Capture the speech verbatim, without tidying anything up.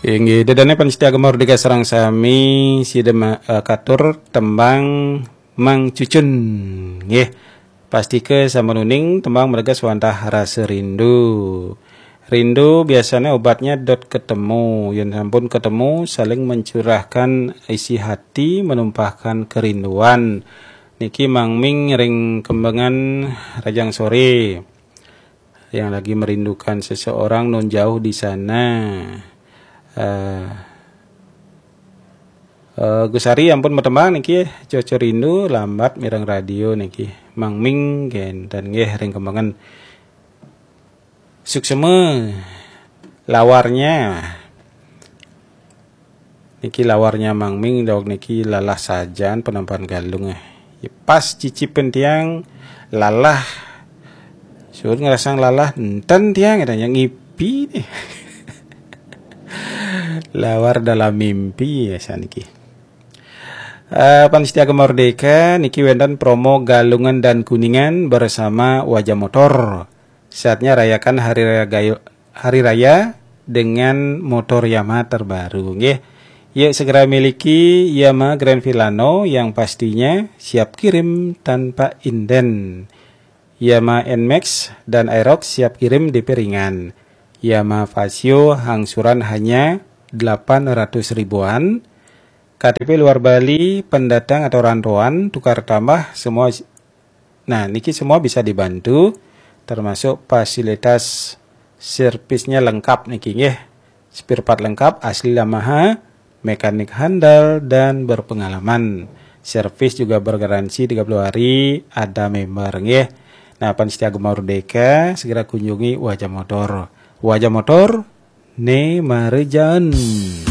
Inggih, dedane pamiarsa Gema Merdeka sareng sami, sida ma-, eh, katur tembang Mang Cucun. Nggih. Pastika sampun uning tembang mergas wantah rasa rindu. Rindu biasanya obatnya dot ketemu. Yen sampun ketemu, saling mencurahkan isi hati, menumpahkan kerinduan. Niki Mang Ming ring Kembangan, Rajang Sore. Yang lagi merindukan seseorang nun jauh di sana. Eh, eh, Gus Ari ampun matembang niki, Cucun Rindu, lambat mireng radio niki. Mang Ming kenten nggih ring Kembangan. Suksma lawarnya. Niki lawarnya Mang Ming, daweg niki lalah sajan penampahan Galung, eh. Ya, pas cicipin tiang lalah. Suud ngrasang lalah, enten tiang, katanya ngipi nih. Lawar dalam mimpi ya saniki. Eh, pamiarsa Gema Merdeka, niki wenten promo Galungan dan Kuningan bersama Wajah Motor. Saatnya rayakan hari raya Gayo-, hari raya dengan motor Yamaha terbaru, nggih. Yuk segera miliki Yamaha Grand Filano yang pastinya siap kirim tanpa inden. Yamaha Nmax dan Aerox siap kirim D P ringan. Yamaha Fazzio angsuran hanya delapan ratus ribuan. K T P luar Bali, pendatang atau rantauan, tukar tambah, semua. Nah, niki semua bisa dibantu, termasuk fasilitas servisnya lengkap niki, nggih. Spare part lengkap, asli Yamaha, mekanik handal dan berpengalaman. Servis juga bergaransi tiga puluh hari, ada member, nggih. Nah, pamiarsa Gema Merdeka, segera kunjungi Wajah Motor. Wajah Motor, ne marejan.